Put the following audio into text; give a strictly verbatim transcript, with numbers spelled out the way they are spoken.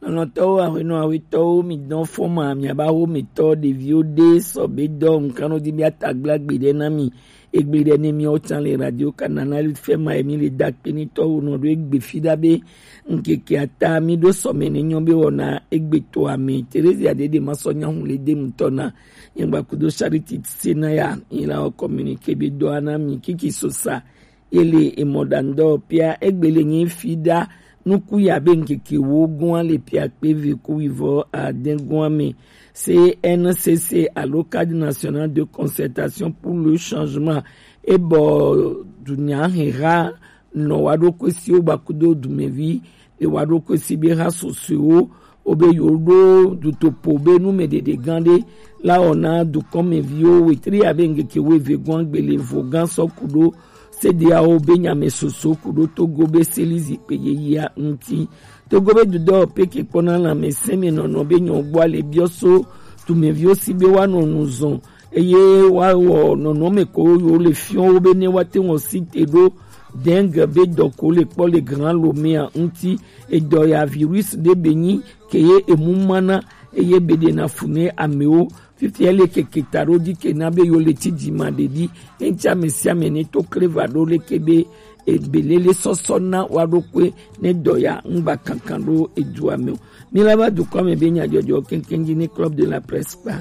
Alɔtɔwo, aƒenɔ, aƒetɔwo, mi dɔn fɔma, mi aba wo mi tɔ ɖeviwo ɖe sɔbe dɔ nkan no di mi atagblagbe ɖe na mi. Egbe ɖe ne mi o can le radio Canal F M a, mi le dakpe ni tɔwo nɔ ɖo egbe fi ɖa be nkeke ata mi ɖo sɔme ne nyɔ be wɔna egbe to ame. Teresia ɖe ɖe ma sɔ nyahun le de mutɔ na. Nyagba kudo Charity Senaya, ila o communiqué be dɔ ana mi kiki sosa. Ele emɔɖaŋudɔwɔƒea egbele nye fi ɖa nuku ya be ŋkeke wo gɔa le pia kpe ve ku wivɔ ade gɔa me. C N C C alo Cadre National de Concertation pour le Changement ebɔ dunya heha nɔ wa ɖo kwesiwo gbakudo dumevi le wa ɖo kwesi be ha sosoewo wo be yewo ɖo dutoƒo be numedede gã ɖe la wɔna dukɔmeviwo wetri abe ŋkeke wuieve gɔ̃ gbele vo gã sɔ ku ɖo sedeawo be nyame soso ku ɖo Togo be seli zikpe yeyea ŋuti. Togo be dudɔ peke kpɔna lãmesẽ me nɔnɔ be nyɔgbɔa le biɔ so dumeviwo si be woanɔ nu zɔn eye woawɔ nɔnɔme ko yewo le fiɔ wo be ne woate ŋu si te ɖo dengue be dɔ ko le kpɔ le Grand Lomea ŋuti. Edɔ ya virus ɖe be nyi ke ye emu mana eye be ɖe na fu ne amewo. Fifia le keke ta ɖo di ke na be yo le ti dzi ma ɖe ɖi. Eŋtsi ame sia ame ne to kle va ɖo leke be ebelele sɔsɔ na wa ɖo kue ne dɔ ya ŋgba kankan ɖo edua me o. Mi la va dukɔ me be nyadzɔdzɔ keŋkeŋ dzi ne Club de la Presse kpa.